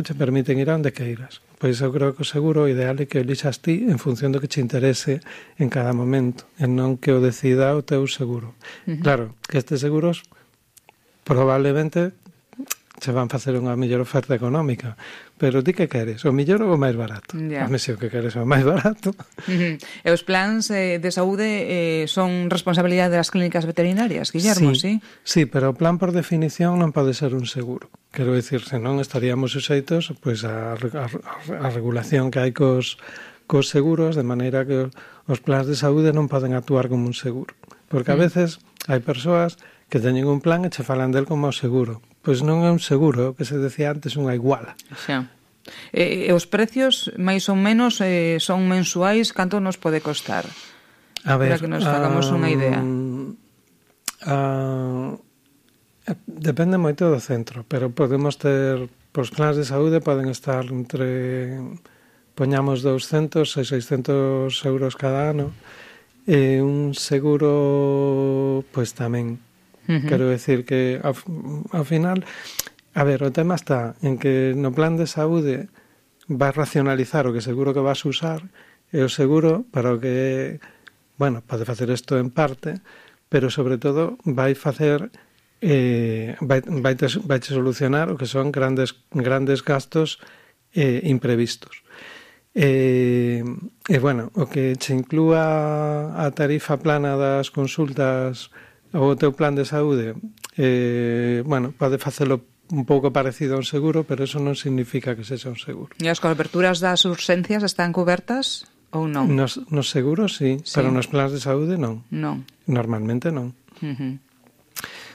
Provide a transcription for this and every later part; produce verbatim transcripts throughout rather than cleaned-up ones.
te permiten ir a onde queiras. Pois eu creo que o seguro o ideal é que o elixas ti en función do que te interese en cada momento, e non que o decida o teu seguro. Uh-huh. Claro, que estes seguros probablemente se van facer unha mellor oferta económica, pero ti que queres? O mellor ou o máis barato? Yeah. A mí se o que queres é o máis barato. Uh-huh. E os plans eh, de saúde eh, son responsabilidade das clínicas veterinarias, Guillermo, sí? Sí, pero o plan por definición non pode ser un seguro. Quero dicir, senón estaríamos suxeitos pois, a, a, a regulación que hai cos, cos seguros, de maneira que os plans de saúde non poden actuar como un seguro. Porque a veces hai persoas que teñen un plan e che falan del como seguro. Pois non é un seguro, o que se decía antes, unha iguala. Xa. E, e os precios, máis ou menos, eh, son mensuais, canto nos pode costar? A ver, para que nos hagamos um, unha idea. Uh, depende moito do centro, pero podemos ter, os plans de saúde poden estar entre, poñamos douscentos e seiscentos euros cada ano, e un seguro, pois tamén. Uh-huh. Quero decir que ao, ao final, a ver, o tema está en que no plan de saúde vas racionalizar o que seguro que vas usar, e o seguro para o que, bueno, pode facer isto en parte, pero sobre todo vai facer eh, vai, vai, te, vai te solucionar o que son grandes grandes gastos eh, imprevistos. E, e bueno, o que che inclúa a tarifa plana das consultas ou o teu plan de saúde, eh, bueno, pode facelo un pouco parecido a un seguro, pero eso non significa que sexa un seguro. E as coberturas das urxencias están cobertas ou non? Nos, nos seguros, sí, sí, pero nos plans de saúde non. Non. Normalmente non. Uh-huh.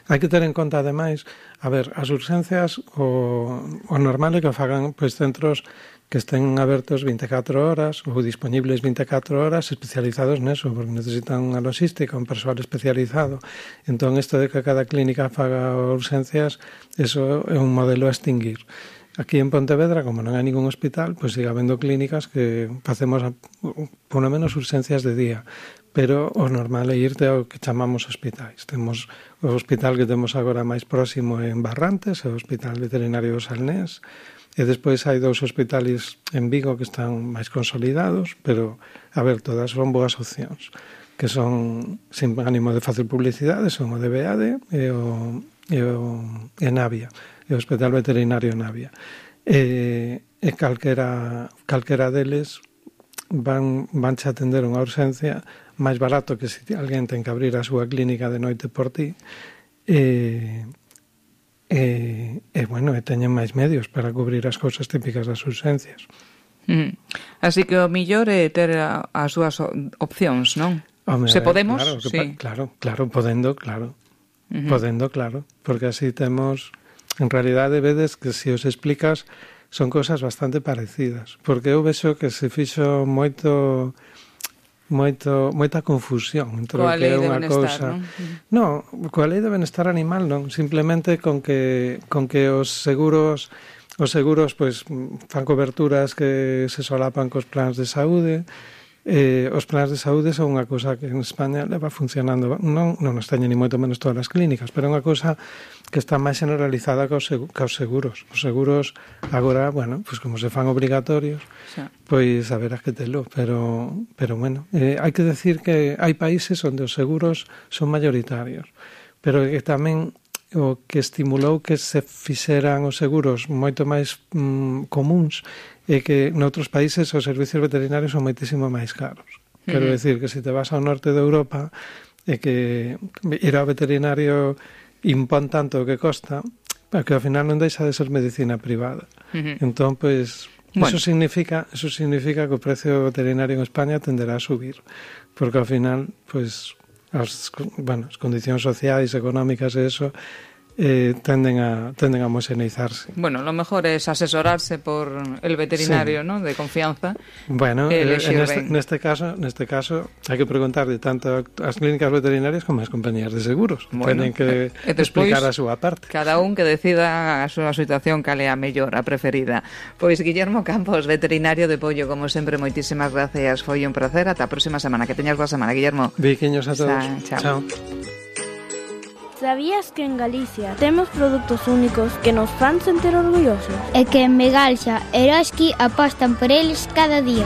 Hai que ter en conta, ademais, a ver, as urxencias, o, o normal é que fagan pois, centros que estén abertos vinte e catro horas ou disponibles vinte e catro horas, especializados neso, porque necesitan unha logística, un persoal especializado. Entón, isto de que cada clínica faga urxencias, eso é un modelo a extinguir. Aquí en Pontevedra, como non hai ningún hospital, pois siga habendo clínicas que facemos, por lo menos, urxencias de día. Pero o normal é irte ao que chamamos hospitais. Temos o hospital que temos agora máis próximo en Barrantes, o Hospital Veterinario do Salnés, e despois hai dous hospitales en Vigo que están máis consolidados, pero, a ver, todas son boas opcións, que son, sin ánimo de facer publicidade, son o D B A D e o, e o e Navia, e o Hospital Veterinario Navia. E, e calquera, calquera deles van, vanche atender unha urxencia máis barato que se alguén ten que abrir a súa clínica de noite por ti, e... E, e, bueno, e teñen máis medios para cubrir as cousas típicas das urxencias. Mm. Así que o millor é ter a, as súas opcións, non? Home, Se podemos, claro, sí. Pa, claro, claro, podendo, claro. Uh-huh. Podendo, claro. Porque así temos, en realidade, vedes que se os explicas son cousas bastante parecidas. Porque eu vexo que se fixo moito... moito moita confusión entre o que é unha cousa. Non, coa lei de benestar animal non, simplemente con que con que os seguros os seguros pois fan coberturas que se solapan cos plans de saúde. Eh, os plans de saúde son unha cousa que en España leva funcionando, non, non nos teñen ni moito menos todas as clínicas, pero é unha cousa que está máis generalizada que os seguros. Os seguros agora, bueno, pois como se fan obrigatorios, xa, pois haberás que telo, pero, pero bueno, eh, hai que decir que hai países onde os seguros son mayoritarios, pero que tamén o que estimulou que se fixeran os seguros moito máis mm, comuns é que noutros países os servicios veterinarios son moitísimo máis caros. Uh-huh. Quero decir que se te vas ao norte de Europa é que ir ao veterinario impón tanto o que costa, que ao final non deixa de ser medicina privada. Uh-huh. Entón, pois, bueno, eso significa, eso significa que o precio veterinario en España tenderá a subir, porque ao final, pois, as, bueno, as condicións sociais, económicas e eso Eh, tenden a tenden a homogeneizarse. Bueno, lo mejor es asesorarse por el veterinario, sí, ¿no?, de confianza. Bueno, eh, en este, neste caso, neste caso hai que preguntar de tanto as clínicas veterinarias como as compañías de seguros. Bueno, tenen que eh, despois, explicar a súa parte. Cada un que decida a súa situación cal é a mellor, a preferida. Pois Guillermo Campos, veterinario de Pollo, como sempre, moitísimas gracias. Foi un placer. Ata a próxima semana. Que teñas boa semana, Guillermo. Biquiños a todos. Sa, chao. Chao. Sabías que en Galicia temos produtos únicos que nos fan sentir orgullosos? E que en Begalsa Eroski apostan por eles cada día.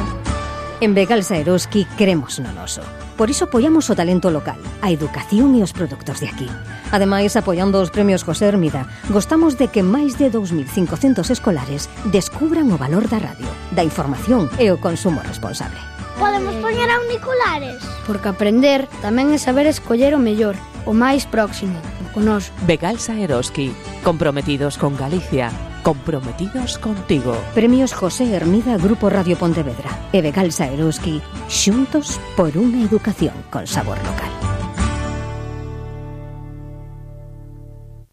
En Begalsa Eroski cremos no noso. Por iso apoiamos o talento local, a educación e os produtos de aquí. Ademais, apoiando os premios José Hermida, gostamos de que máis de dous mil cincocentos escolares descubran o valor da radio, da información e o consumo responsable. Podemos poñer auriculares? Porque aprender tamén é saber escoller o mellor, o máis próximo, o noso. Begalsa Eroski, comprometidos con Galicia, comprometidos contigo. Premios José Hermida Grupo Radio Pontevedra e Begalsa Eroski, xuntos por unha educación con sabor local.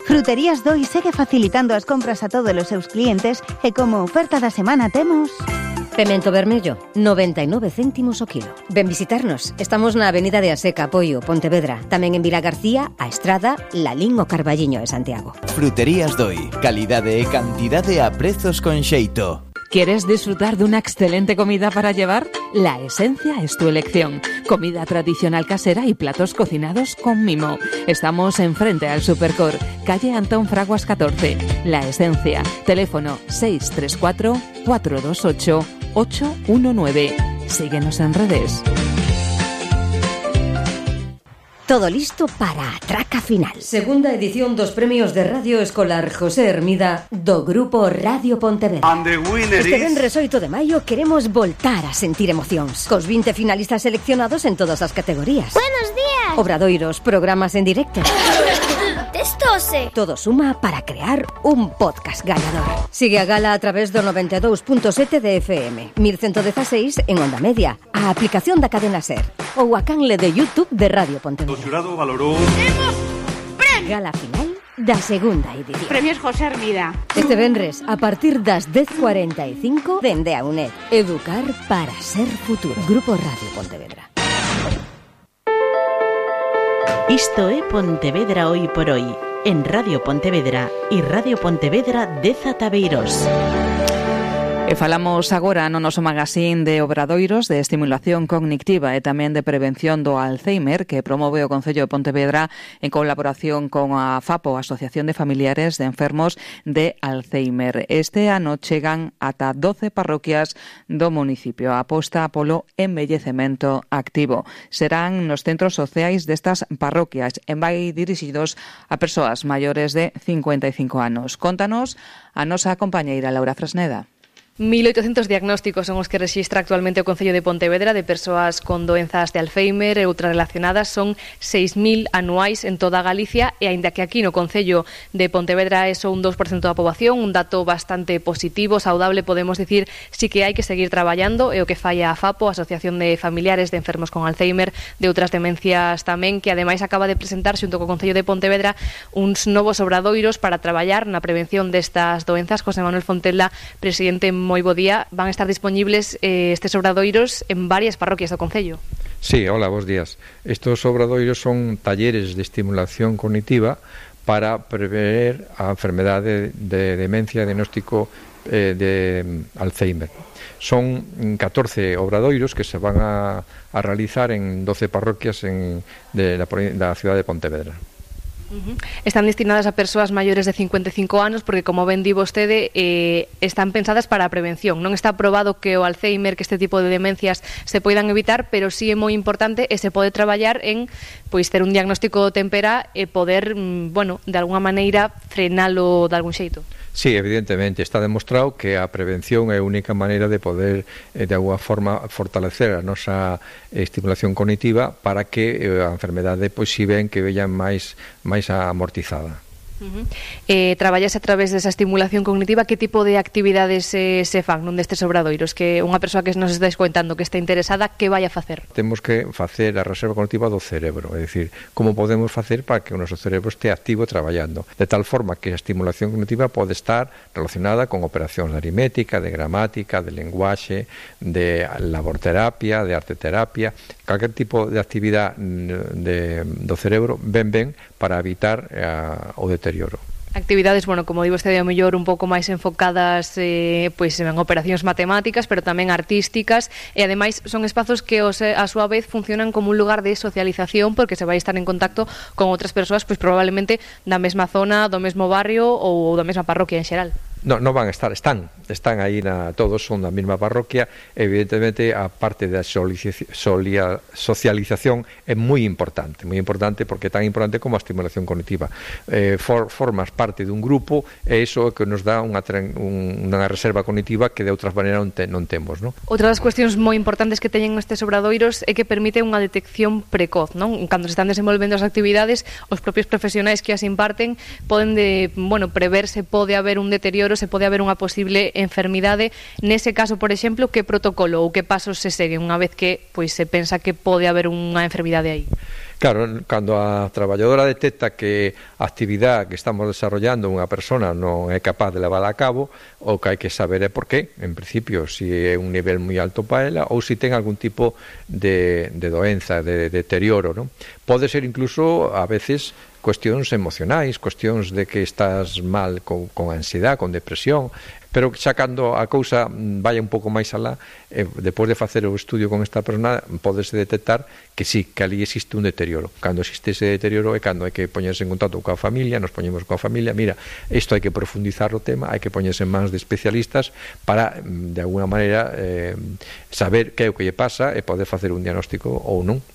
Fruterías Doi segue facilitando as compras a todos os seus clientes e como oferta da semana temos... Pemento vermello, noventa e nove céntimos o kilo. Ven visitarnos. Estamos na Avenida de Aseca, Poio, Pontevedra. Tamén en Vila García, A Estrada, Lalín o Carballiño e Santiago. Fruterías Doi. Calidade e cantidade a prezos con xeito. ¿Quieres disfrutar de una excelente comida para llevar? La Esencia es tu elección. Comida tradicional casera y platos cocinados con mimo. Estamos enfrente al Supercor, calle Antón Fraguas catorce. La Esencia. Teléfono seis tres cuatro, cuatro dos ocho, ocho uno nueve. Síguenos en redes. Todo listo para a traca final. Segunda edición dos premios de Radio Escolar José Hermida do Grupo Radio Pontevedra. Este venres oito de maio queremos voltar a sentir emocións cos vinte finalistas seleccionados en todas as categorías. Buenos días. Obradoiros, programas en directo. Testose. Todo suma para crear un podcast gañador. Sigue a gala a través do noventa e dous punto sete de F M, mil ciento dieciséis en Onda Media, a aplicación da cadena SER ou a canle de YouTube de Radio Pontevedra. O xurado valorou... Temos premio! Gala final da segunda edición. Premios José Hermida. Este venres, a partir das dez cuarenta e cinco, dende a UNED. Educar para ser futuro. Grupo Radio Pontevedra. Isto é Pontevedra Hoy por Hoy, en Radio Pontevedra e Radio Pontevedra de Zataveiros. E falamos agora no noso magazín de obradoiros de estimulación cognitiva e tamén de prevención do Alzheimer que promove o Concello de Pontevedra en colaboración con a FAPO, Asociación de Familiares de Enfermos de Alzheimer. Este ano chegan ata doce parroquias do municipio. A aposta polo embellecemento activo. Serán nos centros sociais destas parroquias e vai dirixidos a persoas maiores de cincuenta e cinco anos. Contanos a nosa compañeira Laura Fresneda. mil oitocentos diagnósticos son os que rexistra actualmente o Concello de Pontevedra de persoas con doenzas de Alzheimer e outras relacionadas. Son seis mil anuais en toda Galicia e aínda que aquí no Concello de Pontevedra é só un dous por cento da poboación, un dato bastante positivo, saudable, podemos dicir, sí que hai que seguir traballando, é o que fai a FAPO, a Asociación de Familiares de Enfermos con Alzheimer, de outras demencias tamén, que ademais acaba de presentar xunto co Concello de Pontevedra uns novos obradoiros para traballar na prevención destas doenzas. José Manuel Fontela, presidente, moi bo día. Van a estar disponibles eh, estes obradoiros en varias parroquias do Concello. Sí, hola, bos días. Estos obradoiros son talleres de estimulación cognitiva para prever a enfermedade de demencia, diagnóstico eh, de Alzheimer. Son catorce obradoiros que se van a, a realizar en doce parroquias en, de la, da cidade de Pontevedra. Uh-huh. Están destinadas a persoas maiores de cincuenta e cinco anos porque, como ben di vostede, eh, están pensadas para a prevención. Non está probado que o Alzheimer, que este tipo de demencias se poidan evitar, pero sí é moi importante e se pode traballar en pois ter un diagnóstico tempera e poder, bueno, de alguna maneira frenalo de algún xeito. Sí, evidentemente, está demostrado que a prevención é a única maneira de poder, eh, de alguna forma, fortalecer a nosa estimulación cognitiva para que eh, a enfermedade, pois, si ven que vean máis, máis amortizada. Uh-huh. eh, Traballase a través desa estimulación cognitiva. Que tipo de actividades eh, se fan nun destes obradoiros? Que unha persoa que nos estáis contando que está interesada, que vai a facer? Temos que facer a reserva cognitiva do cerebro, é dicir, como podemos facer para que o noso cerebro este activo traballando, de tal forma que a estimulación cognitiva pode estar relacionada con operacións de aritmética, de gramática, de lenguaxe, de laborterapia, de arteterapia, calquer tipo de actividade de, do cerebro ben ben para evitar uh, o deterioro. Actividades, bueno, como digo, este día mellor un pouco máis enfocadas eh, pois en operacións matemáticas, pero tamén artísticas, e ademais son espazos que os, a súa vez funcionan como un lugar de socialización, porque se vai estar en contacto con outras persoas, pois probablemente da mesma zona, do mesmo barrio ou da mesma parroquia en xeral. No, non van a estar, están, están aí na, todos son da mesma parroquia. Evidentemente a parte da socialización é moi importante, moi importante porque é tan importante como a estimulación cognitiva. Eh, for, formas parte dun grupo e iso é que nos dá unha, un, unha reserva cognitiva que de outras maneiras non, te, non temos, non? Outra das cuestións moi importantes que teñen estes obradoiros é que permite unha detección precoz, non? Cando se están desenvolvendo as actividades, os propios profesionais que as imparten poden de, bueno, prever se pode haber un deterioro, se pode haber unha posible enfermidade. Nese caso, por exemplo, que protocolo ou que pasos se seguen unha vez que pois se pensa que pode haber unha enfermidade aí? Claro, cando a traballadora detecta que a actividade que estamos desarrollando unha persona non é capaz de levar a cabo, o que hai que saber é por qué, en principio, se é un nivel moi alto para ela ou se ten algún tipo de, de doenza, de, de deterioro, non? Pode ser incluso, a veces, cuestións emocionais, cuestións de que estás mal con, con ansiedade, con depresión, pero xa cando a cousa vaya un pouco máis alá, eh, depois de facer o estudio con esta persona, podese detectar que sí, que ali existe un deterioro. Cando existe ese deterioro é cando hai que poñerse en contacto coa familia, nos poñemos coa familia, mira, isto hai que profundizar o tema, hai que poñerse en mans de especialistas para, de alguna maneira, eh, saber que é o que lle pasa e poder facer un diagnóstico ou non.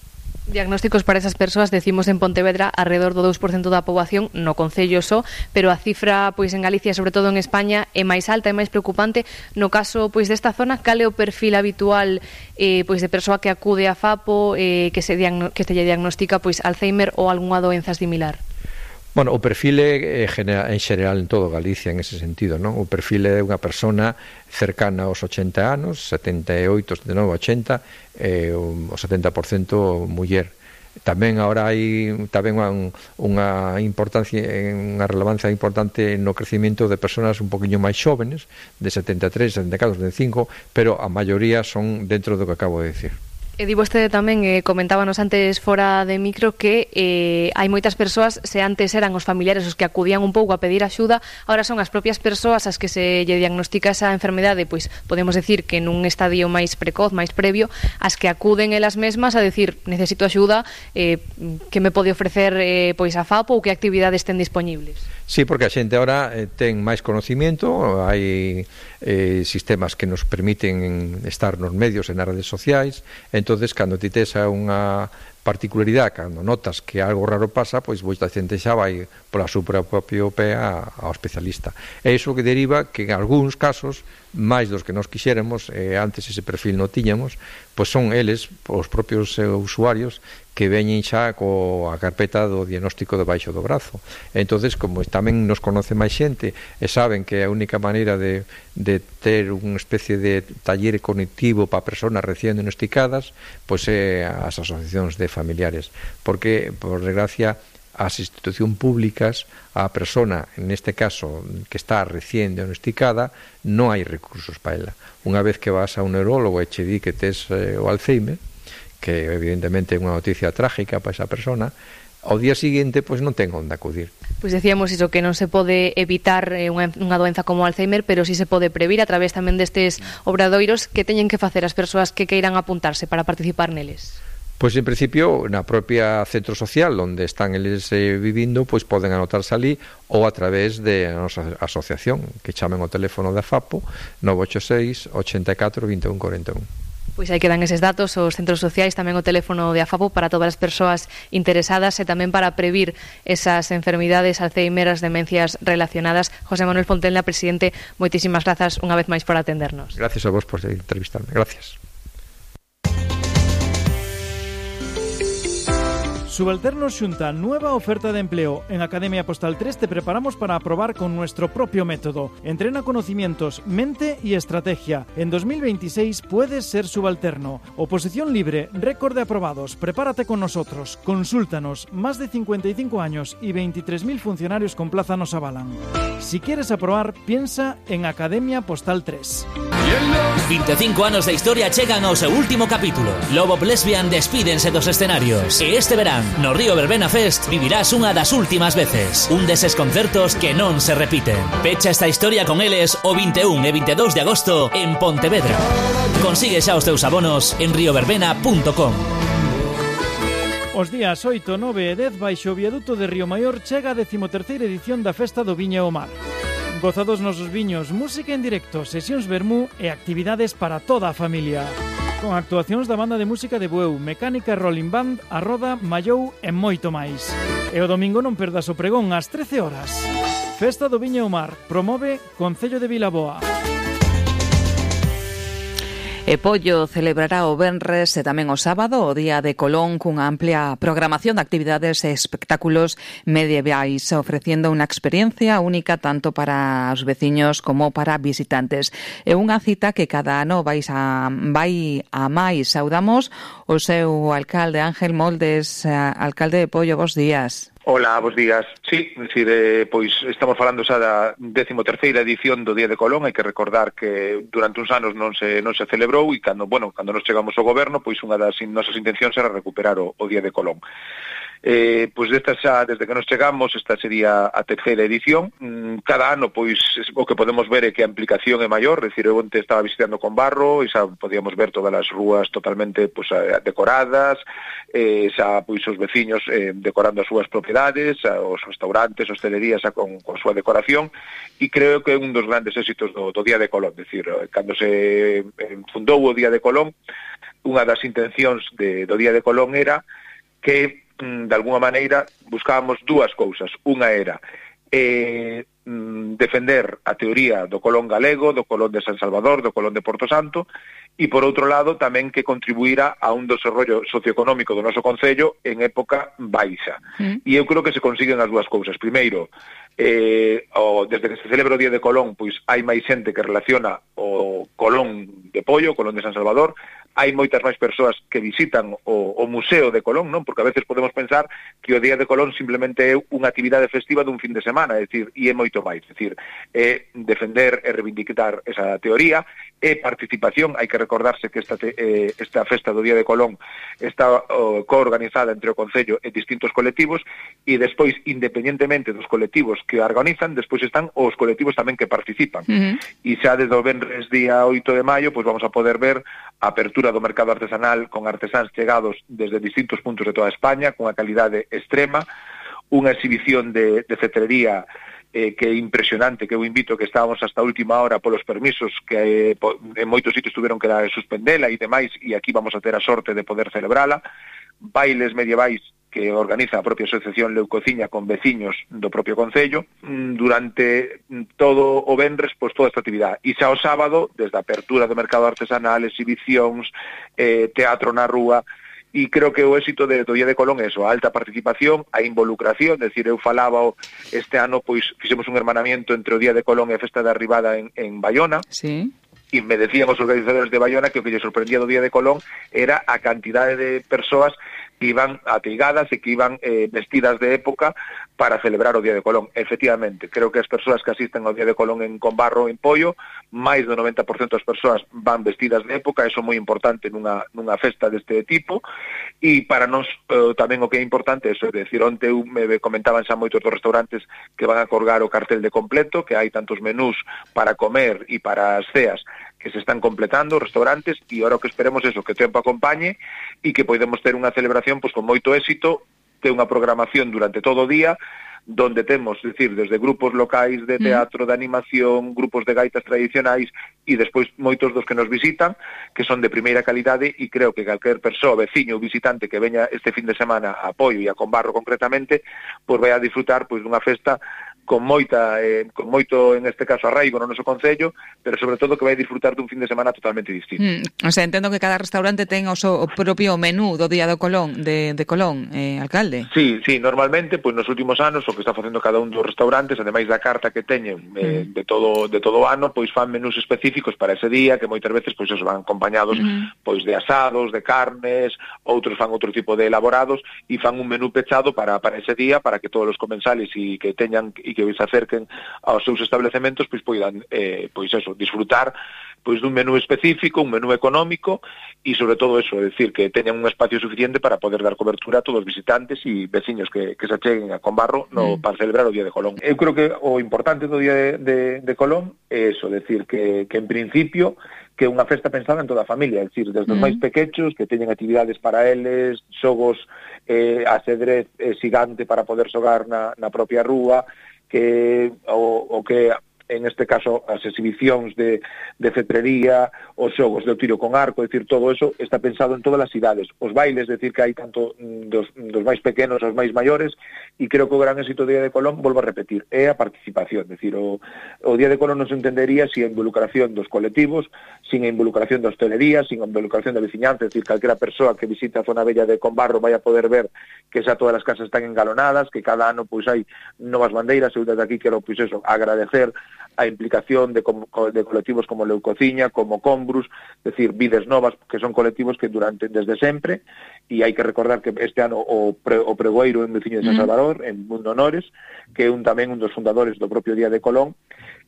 Diagnósticos para esas persoas, decimos en Pontevedra, alrededor do dous por cento da poboación no concello só, pero a cifra pois en Galicia, sobre todo en España, é máis alta e máis preocupante. No caso pois desta zona, cal é o perfil habitual eh, pois de persoa que acude a FAPO, eh, que se diagno- que se lle diagnostica pois Alzheimer ou algunha doenza similar? Bueno, o perfil é en xeral en todo Galicia en ese sentido, non? O perfil é unha persona cercana aos ochenta anos, setenta e oito, setenta e nove, ochenta, e o setenta por cento muller. Tamén agora hai tamén unha, unha importancia, unha relevancia importante no crecimiento de persoas un poquinho máis xóvenes, de setenta e tres, setenta e catro, setenta e cinco, pero a maioría son dentro do que acabo de decir. E di vostede tamén, eh, comentábanos antes fora de micro, que eh, hai moitas persoas, se antes eran os familiares os que acudían un pouco a pedir axuda, agora son as propias persoas as que se lle diagnostica esa enfermedade, pois podemos decir que nun estadio máis precoz, máis previo, as que acuden elas mesmas a decir, necesito axuda, eh, que me pode ofrecer eh, pois a FAPO ou que actividades ten disponibles? Sí, porque a xente ahora eh, ten máis conocimiento, hai eh, sistemas que nos permiten estar nos medios e nas redes sociais, entonces cando ti tes unha particularidade, cando notas que algo raro pasa, pois moita xente xa vai pola súa propia pé ao especialista. É iso que deriva que en algúns casos, máis dos que nos quixéramos, eh, antes ese perfil non tiñamos, pois son eles, os propios eh, usuarios, que veñen xa coa carpeta do diagnóstico debaixo do brazo. Entonces, como tamén nos conoce máis xente e saben que a única maneira de, de ter unha especie de taller cognitivo para persoas recién diagnosticadas, pois é as asociacións de familiares, porque, por desgracia, as institucións públicas, a persona, neste caso, que está recién diagnosticada, non hai recursos para ela. Unha vez que vas a un neurólogo e che di que tes eh, o Alzheimer, que evidentemente é unha noticia trágica para esa persona, ao día seguinte pois non ten onde acudir. Pois decíamos iso, que non se pode evitar eh, unha, unha doenza como Alzheimer, pero sí se pode previr a través tamén destes obradoiros. Que teñen que facer as persoas que queiran apuntarse para participar neles? Pois en principio na propia centro social onde están eles eh, vivindo, pois poden anotarse ali ou a través de a nosa asociación, que chamen o teléfono da FAPO nove ocho seis, ocho catro, vinte e un, cuarenta e un. Pois aí quedan eses datos, os centros sociais, tamén o teléfono de AFAPO para todas as persoas interesadas e tamén para previr esas enfermidades, Alzheimer, as demencias relacionadas. José Manuel Fontenla, presidente, moitísimas grazas unha vez máis por atendernos. Gracias a vos por entrevistarme. Gracias. Subalternos xunta nueva oferta de empleo. En Academia Postal tres te preparamos para aprobar con nuestro propio método. Entrena conocimientos, mente y estrategia. En dos mil veintiséis puedes ser subalterno. Oposición libre, récord de aprobados. Prepárate con nosotros. Consúltanos. Más de cincuenta y cinco años y veintitrés mil funcionarios con plaza nos avalan. Si quieres aprobar, piensa en Academia Postal tres. vinte e cinco anos de historia chegan ao seu último capítulo. Lobo Lesbian despídense dos escenarios. E este verán No Río Verbena Fest vivirás unha das últimas veces, un deses concertos que non se repiten. Pecha esta historia con eles o vinte e un e vinte e dous de agosto en Pontevedra. Consigue xa os teus abonos en rioverbena punto com. Os días oito, nove e dez baixo o viaduto de Río Maior chega a decimoterceira edición da Festa do Viño e o Mar. Goza dos nosos viños, música en directo, sesións vermú e actividades para toda a familia. Con actuacións da banda de música de Bueu, Mecánica Rolling Band, a Roda, Mallou e moito máis. E o domingo non perdas o pregón ás trece horas. Festa do Viño e o Mar, promove Concello de Vilaboa. E Pollo celebrará o venres e tamén o sábado o Día de Colón cunha amplia programación de actividades e espectáculos medievais, ofreciendo unha experiencia única tanto para os veciños como para visitantes. É unha cita que cada ano vais a, vai a máis. Saudamos o seu alcalde Ángel Moldes. Alcalde de Pollo, bos días. Hola, bos días. Sí, decir, eh, pois estamos falando xa da décimo terceira edición do Día de Colón. Hai que recordar que durante uns anos non se non se celebrou e cando, bueno, cando nos chegamos ao goberno, pois unha das nosas intencións era recuperar o, o Día de Colón. Eh, pois desta xa, desde que nos chegamos, esta sería a terceira edición. Cada ano, pois, o que podemos ver é que a implicación é maior, é dicir, eu onte estaba visitando con Barro e xa podíamos ver todas as rúas totalmente pois, decoradas, eh, xa pois os veciños eh, decorando as súas propiedades, os restaurantes, hostelerías xa con, con súa decoración, e creo que é un dos grandes éxitos do, do Día de Colón, é dicir, cando se fundou o Día de Colón, unha das intencións de, do Día de Colón era que de alguna maneira buscábamos dúas cousas. Unha era eh, defender a teoría do Colón galego, do Colón de San Salvador, do Colón de Porto Santo, e por outro lado tamén que contribuíra a un desarrollo socioeconómico do noso concello en época baixa. Mm. E eu creo que se consiguen as dúas cousas. Primeiro, eh, o, desde que se celebra o Día de Colón, pois hai máis xente que relaciona o Colón de Pollo, o Colón de San Salvador, hai moitas máis persoas que visitan o, o Museo de Colón, non? Porque a veces podemos pensar que o Día de Colón simplemente é unha actividade festiva dun fin de semana, é dicir, e é moito máis, é dicir, é defender e reivindicar esa teoría, é participación. Hai que recordarse que esta, te, eh, esta festa do Día de Colón está oh, coorganizada entre o Concello e distintos colectivos, e despois, independentemente dos colectivos que a organizan, despois están os colectivos tamén que participan. Uh-huh. E xa desde o venres día oito de maio, pois vamos a poder ver a apertura do mercado artesanal con artesáns chegados desde distintos puntos de toda España, con a calidade extrema, unha exhibición de, de cetrería eh, que é impresionante, que eu invito que estábamos hasta a última hora polos permisos que eh, po, en moitos sitios tuveron que suspendela e demais, e aquí vamos a ter a sorte de poder celebrala. Bailes medievais que organiza a propia Asociación Leucociña con veciños do propio Concello, durante todo o venres, pois toda esta actividade. E xa o sábado, desde a apertura do mercado artesanal, exhibicións, eh, teatro na rúa, e creo que o éxito de, do Día de Colón é eso, a alta participación, a involucración, é dicir, eu falaba este ano, pois fixemos un hermanamiento entre o Día de Colón e a Festa da Arribada en, en Baiona. Sí. E me decían os organizadores de Baiona que o que lle sorprendía do Día de Colón era a cantidade de persoas que iban ateigadas e que iban eh, vestidas de época para celebrar o Día de Colón. Efectivamente, creo que as persoas que asisten ao Día de Colón en Conbarro en Pollo, máis do noventa por cento das persoas van vestidas de época, eso é moi importante nunha, nunha festa deste tipo, e para nós eh, tamén o que é importante é eso, é dicir, onte me comentaban xa moitos dos restaurantes que van a colgar o cartel de completo, que hai tantos menús para comer e para as ceas que se están completando os restaurantes, e agora o que esperemos é eso, que o tempo acompañe e que podemos ter unha celebración pois con moito éxito, ter unha programación durante todo o día, donde temos, é dicir, desde grupos locais de teatro, de animación, grupos de gaitas tradicionais, e despois moitos dos que nos visitan, que son de primeira calidade, e creo que calquer persoa, veciño ou visitante que veña este fin de semana a Pollo e a Conbarro concretamente, pois vai a disfrutar pois dunha festa con moita eh, con moito, en este caso, arraigo no noso concello, pero sobre todo que vai disfrutar dun fin de semana totalmente distinto. Mm, o sea, entendo que cada restaurante ten o seu propio menú do Día do Colón, de, de Colón, eh, alcalde. Sí, sí, normalmente, pois nos últimos anos, o que está facendo cada un dos restaurantes, ademais da carta que teñen eh, mm. de todo de todo o ano, pois fan menús específicos para ese día, que moitas veces pois esos van acompañados mm. pois de asados, de carnes, outros fan outro tipo de elaborados, e fan un menú pechado para, para ese día, para que todos os comensales e que teñan e que se acerquen aos seus establecementos, pois poidan, eh, pois eso, disfrutar pois dun menú específico, un menú económico e sobre todo eso, é dicir, que teñan un espacio suficiente para poder dar cobertura a todos os visitantes e veciños que, que se acheguen a Combarro no, mm. para celebrar o Día de Colón. Eu creo que o importante do Día de, de, de Colón é eso, decir, que, que en principio que é unha festa pensada en toda a familia, é dicir, desde os mm. máis pequechos, que teñen actividades para eles, xogos, eh, asedrez eh, xigante para poder xogar na, na propia rúa, que o, o que en este caso as exhibicións de, de cetrería, os xogos de tiro con arco, é dicir, todo eso está pensado en todas as idades. Os bailes, é dicir, que hai tanto dos, dos máis pequenos aos máis maiores, e creo que o gran éxito do Día de Colón, volvo a repetir, é a participación. É dicir, o, o Día de Colón non se entendería sin a involucración dos colectivos, sin a involucración da hostelería, sin a involucración da veciñanza, é dicir, calquera persoa que visite a zona bella de Combarro vai a poder ver que xa todas as casas están engalonadas, que cada ano pois hai novas bandeiras. Eu desde aquí quero pois eso, agradecer a implicación de, de colectivos como Leucociña, como Combrus, es decir, Vides Novas, que son colectivos que durante desde sempre, e hai que recordar que este ano o, pre, o pregoeiro en veciño de San Salvador, en Mundo Honores, que é un tamén un dos fundadores do propio Día de Colón,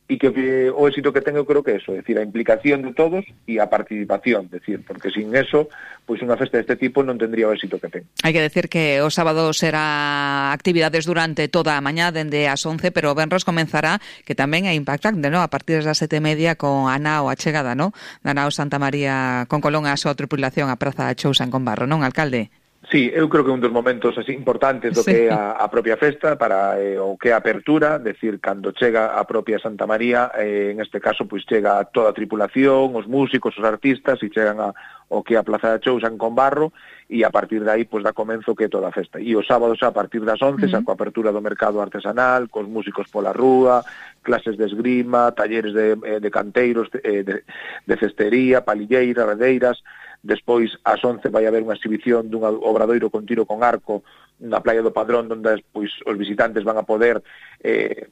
e que, que o éxito que ten eu creo que é eso, é dicir, a implicación de todos e a participación, é dicir, porque sin eso, pois unha festa deste tipo non tendría o éxito que ten. Hai que decir que o sábado será actividades durante toda a mañá, dende as once, pero o venres comenzará, que tamén é impactante, ¿no? A partir das sete e media con a nao a chegada, ¿no? Da nao Santa María con Colón a súa tripulación a Praza Chousa en Combarro, non, alcalde? Sí, eu creo que é un dos momentos así importantes do que é a, a propia festa para eh, o que é a apertura, decir, cando chega a propia Santa María, eh, en este caso pois chega toda a tripulación, os músicos, os artistas, e chegan a o que é a Plaza da Chousa en Combarro, e a partir de aí pois dá comenzo que é toda a festa. E os sábados a partir das once, uh-huh. xa coa apertura do mercado artesanal, cos músicos pola rúa, clases de esgrima, talleres de, de canteiros, de, de, de cestería, palilleira, redeiras. Despois, ás once, vai haber unha exhibición dun obradoiro con tiro con arco na Playa do Padrón, onde pois, os visitantes van a poder eh,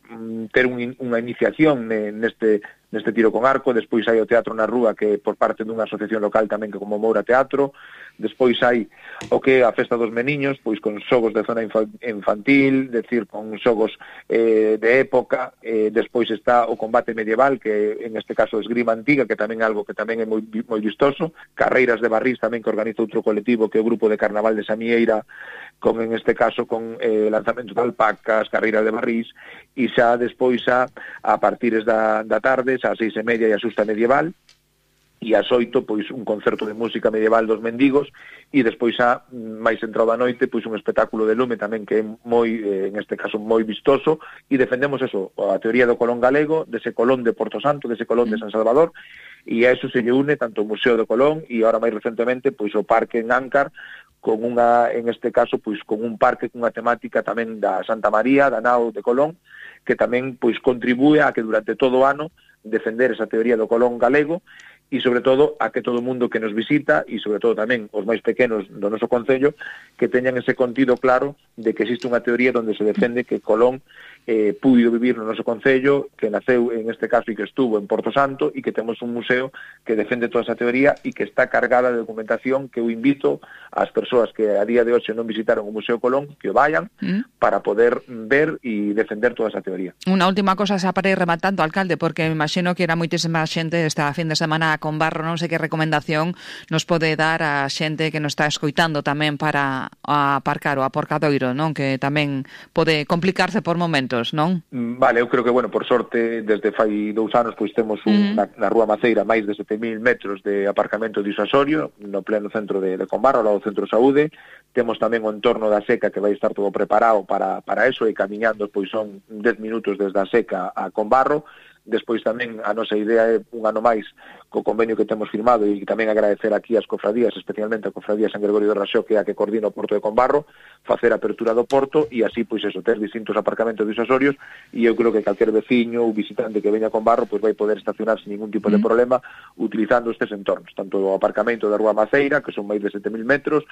ter un, unha iniciación neste, neste tiro con arco. Despois hai o Teatro na Rúa, que por parte dunha asociación local tamén que como Moura Teatro. Despois hai o que é a Festa dos Meniños, pois con xogos de zona infantil, decir, con xogos eh, de época. Eh, despois está o combate medieval, que en este caso esgrima antiga, que tamén é algo que tamén é moi, moi vistoso. Carreiras de barrís tamén que organiza outro colectivo, que é o Grupo de Carnaval de Samieira, con en este caso con eh, lanzamento de alpacas, carreiras de barrís, e xa despois a, a partires da, da tarde, xa a seis e media e a xusta medieval, e ás oito, pois, un concerto de música medieval dos mendigos, e despois a máis entrado a noite, pois, un espectáculo de lume tamén que é moi, eh, en este caso, moi vistoso, e defendemos eso, a teoría do Colón galego, dese Colón de Porto Santo, dese Colón de San Salvador, e a eso se lle une tanto o Museo do Colón, e agora máis recentemente, pois, o Parque en Áncar, con unha, en este caso, pois, con un parque cunha temática tamén da Santa María, da nao de Colón, que tamén, pois, contribúe a que durante todo o ano defender esa teoría do Colón galego, e sobre todo a que todo o mundo que nos visita, e sobre todo tamén os máis pequenos do noso concello, que teñan ese contido claro de que existe unha teoría onde se defende que Colón eh, puido vivir no noso concello, que naceu en este caso e que estuvo en Porto Santo, e que temos un museo que defende toda esa teoría e que está cargada de documentación, que eu invito ás persoas que a día de hoxe non visitaron o Museo Colón que o vayan mm. para poder ver e defender toda esa teoría. Unha última cosa xa para ir rematando, alcalde, porque me imagino que era moitísima xente esta fin de semana con Barro, non sei que recomendación nos pode dar a xente que nos está escoitando tamén para aparcar o aparcadoiro, non? Que tamén pode complicarse por momentos, non? Vale, eu creo que, bueno, por sorte, desde fai dous anos, pois temos un, mm. na, na Rúa Maceira máis de sete mil metros de aparcamento disuasorio no pleno centro de, de Combarro, ao lado do Centro de Saúde. Temos tamén o entorno da Seca, que vai estar todo preparado para, para eso, e camiñando, pois son dez minutos desde a Seca a Combarro. Despois tamén a nosa idea é un ano máis co convenio que temos firmado, e tamén agradecer aquí as cofradías, especialmente a cofradía San Gregorio do Raxó, que é a que coordina o Porto de Combarro, facer a apertura do porto e así, pois eso, ter distintos aparcamentos disuasorios, e eu creo que calquer veciño ou visitante que veña a Combarro pois vai poder estacionar sin ningún tipo de problema utilizando estes entornos, tanto o aparcamento da Rúa Maceira, que son máis de sete mil metros,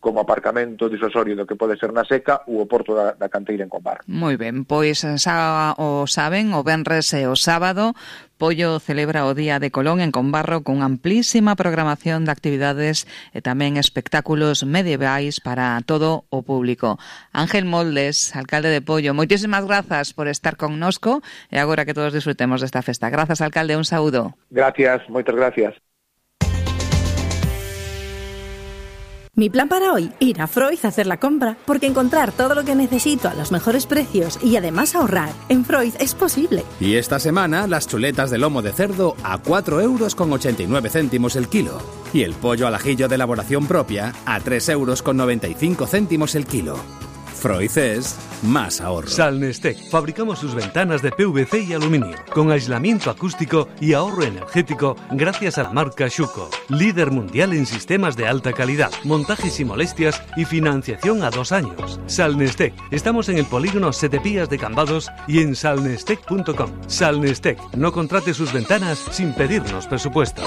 como aparcamento disuasorio do que pode ser na Seca ou o Porto da, da Canteira en Combarro. Moi ben, pois xa o saben, o venres e o sábado Pollo celebra o Día de Colón en Combarro con amplísima programación de actividades e tamén espectáculos medievais para todo o público. Ángel Moldes, alcalde de Pollo, moitísimas grazas por estar connosco e agora que todos disfrutemos desta festa. Grazas, alcalde, un saúdo. Gracias, moitas gracias. Mi plan para hoy, ir a Froiz a hacer la compra, porque encontrar todo lo que necesito a los mejores precios y además ahorrar en Froiz es posible. Y esta semana las chuletas de lomo de cerdo a cuatro euros con ochenta y nueve céntimos el kilo y el pollo al ajillo de elaboración propia a tres euros con noventa y cinco céntimos el kilo. Froiz es más ahorro. Salnestec. Fabricamos sus ventanas de P V C y aluminio, con aislamiento acústico y ahorro energético gracias a la marca Schuco, líder mundial en sistemas de alta calidad, montaje sin molestias y financiación a dos años. Salnestec. Estamos en el polígono Sete Pías de Cambados y en salnestec punto com. Salnestec. No contrate sus ventanas sin pedirnos presupuesto.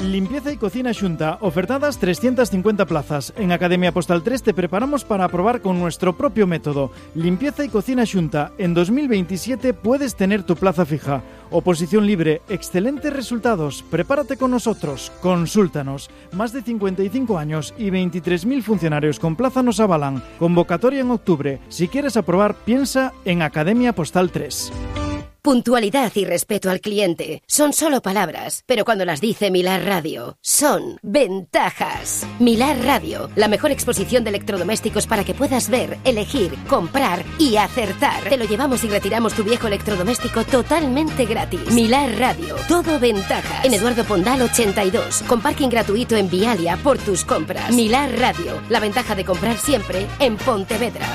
Limpieza y cocina Xunta, ofertadas trescientas cincuenta plazas. En Academia Postal tres te preparamos para probar con nuestro propio método. Limpieza y cocina Xunta. En dos mil veintisiete puedes tener tu plaza fija. Oposición libre, excelentes resultados. Prepárate con nosotros, consúltanos. Más de cincuenta y cinco años y veintitrés mil funcionarios con plaza nos avalan. Convocatoria en octubre. Si quieres aprobar, piensa en Academia Postal tres. Puntualidad y respeto al cliente son solo palabras, pero cuando las dice Milar Radio, son ventajas. Milar Radio, la mejor exposición de electrodomésticos para que puedas ver, elegir, comprar y acertar. Te lo llevamos y retiramos tu viejo electrodoméstico totalmente gratis. Milar Radio, todo ventajas. En Eduardo Pondal ochenta y dos, con parking gratuito en Vialia por tus compras. Milar Radio, la ventaja de comprar siempre en Pontevedra.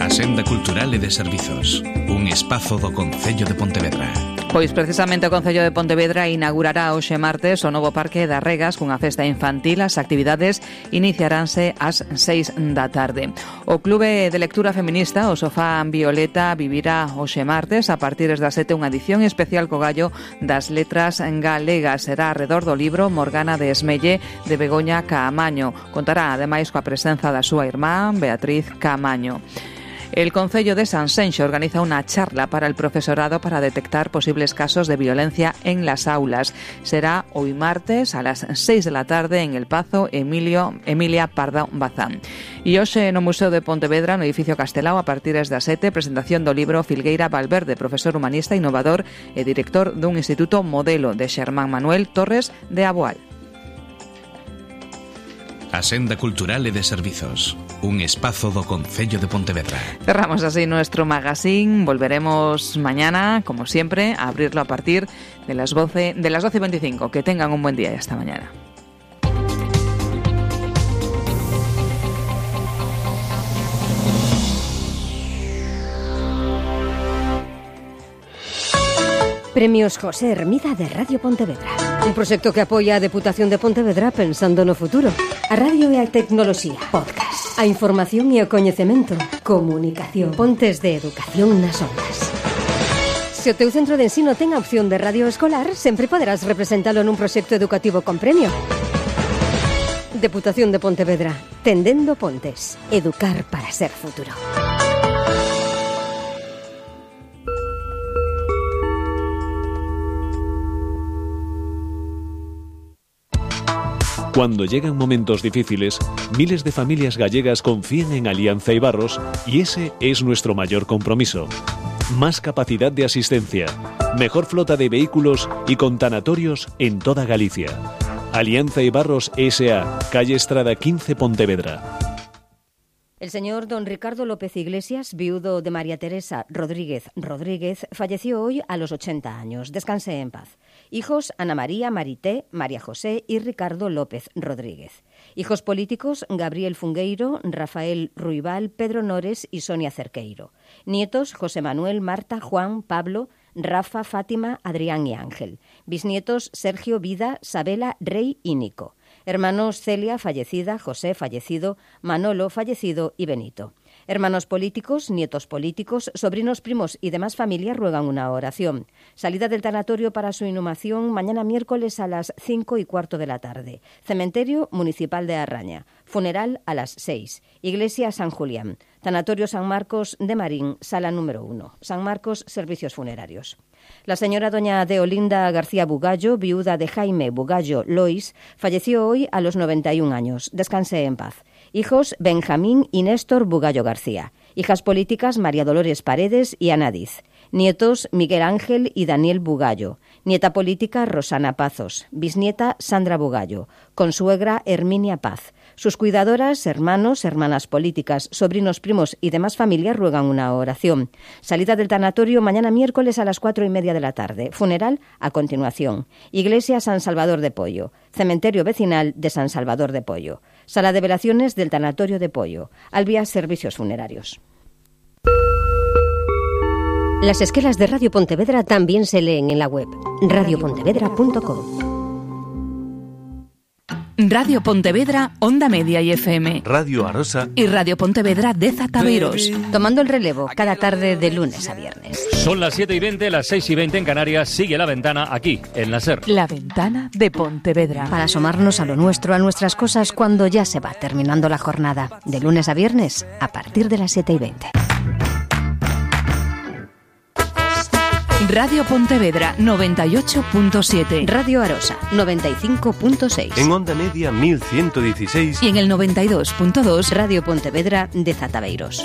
Senda Cultural e de Servizos, un espazo do Concello de Pontevedra. Pois precisamente o Concello de Pontevedra inaugurará hoxe martes o novo Parque das Regas cunha festa infantil. As actividades iniciaránse ás seis da tarde. O Clube de Lectura Feminista, o Sofá Violeta, vivirá hoxe martes a partir das sete unha edición especial co gallo das letras galegas. Será arredor do libro Morgana de Esmelle de Begoña Caamaño. Contará ademais coa presenza da súa irmá Beatriz Caamaño. El Concello de Sanxenxo organiza una charla para el profesorado para detectar posibles casos de violencia en las aulas. Será hoy martes a las seis de la tarde en el Pazo Emilio, Emilia Pardo Bazán. E hoxe no Museo de Pontevedra, no edificio Castelao, a partir das sete, presentación do libro Filgueira Valverde, profesor humanista, innovador e director dun instituto modelo, de Xermán Manuel Torres de Aboal. A Senda Cultural e de Servizos, un espazo do Concello de Pontevedra. Cerramos así nuestro magazine. Volveremos mañana, como siempre, a abrirlo a partir de las doce, de las doce y veinticinco. Que tengan un buen día y hasta mañana. Premios José Hermida de Radio Pontevedra. Un proxecto que apoia a Deputación de Pontevedra pensando no futuro. A radio e a tecnoloxía. Podcast. A información e o coñecemento. Comunicación. Pontes de educación nas ondas. Se o teu centro de ensino ten a opción de radio escolar, sempre poderás representalo nun proxecto educativo con premio. Deputación de Pontevedra. Tendendo pontes. Educar para ser futuro. Cuando llegan momentos difíciles, miles de familias gallegas confían en Alianza Ibarros y ese es nuestro mayor compromiso. Más capacidad de asistencia, mejor flota de vehículos y con tanatorios en toda Galicia. Alianza Ibarros S A, calle Estrada quince, Pontevedra. El señor don Ricardo López Iglesias, viudo de María Teresa Rodríguez Rodríguez, falleció hoy a los ochenta años. Descanse en paz. Hijos: Ana María, Marité, María José y Ricardo López Rodríguez. Hijos políticos: Gabriel Fungueiro, Rafael Ruibal, Pedro Nores y Sonia Cerqueiro. Nietos: José Manuel, Marta, Juan, Pablo, Rafa, Fátima, Adrián y Ángel. Bisnietos: Sergio, Vida, Sabela, Rey y Nico. Hermanos: Celia, fallecida, José, fallecido, Manolo, fallecido y Benito. Hermanos políticos, nietos políticos, sobrinos, primos y demás familias ruegan una oración. Salida del tanatorio para su inhumación mañana miércoles a las cinco y cuarto de la tarde. Cementerio Municipal de Arraña. Funeral a las seis. Iglesia San Julián. Tanatorio San Marcos de Marín, sala número uno. San Marcos, servicios funerarios. La señora doña Deolinda García Bugallo, viuda de Jaime Bugallo Lois, falleció hoy a los noventa y un años. Descanse en paz. Hijos Benjamín y Néstor Bugallo García. Hijas políticas María Dolores Paredes y Ana Diz. Nietos Miguel Ángel y Daniel Bugallo. Nieta política Rosana Pazos. Bisnieta Sandra Bugallo. Consuegra Herminia Paz. Sus cuidadoras, hermanos, hermanas políticas, sobrinos, primos y demás familias ruegan una oración. Salida del tanatorio mañana miércoles a las cuatro y media de la tarde. Funeral a continuación. Iglesia San Salvador de Pollo. Cementerio vecinal de San Salvador de Pollo. Sala de velaciones del tanatorio de Pollo. Albia Servicios Funerarios. Las esquelas de Radio Pontevedra también se leen en la web radio pontevedra punto com. Radio Pontevedra, Onda Media y F M. Radio Arosa y Radio Pontevedra de Zataveiros. Tomando el relevo cada tarde de lunes a viernes. Son las siete y veinte, las seis y veinte en Canarias. Sigue La Ventana aquí, en la SER. La Ventana de Pontevedra. Para asomarnos a lo nuestro, a nuestras cosas, cuando ya se va terminando la jornada. De lunes a viernes, a partir de las siete y veinte. Radio Pontevedra noventa y ocho punto siete. Radio Arosa noventa y cinco punto seis. En Onda Media mil ciento dieciséis. Y en el noventa y dos punto dos. Radio Pontevedra de Zataveiros.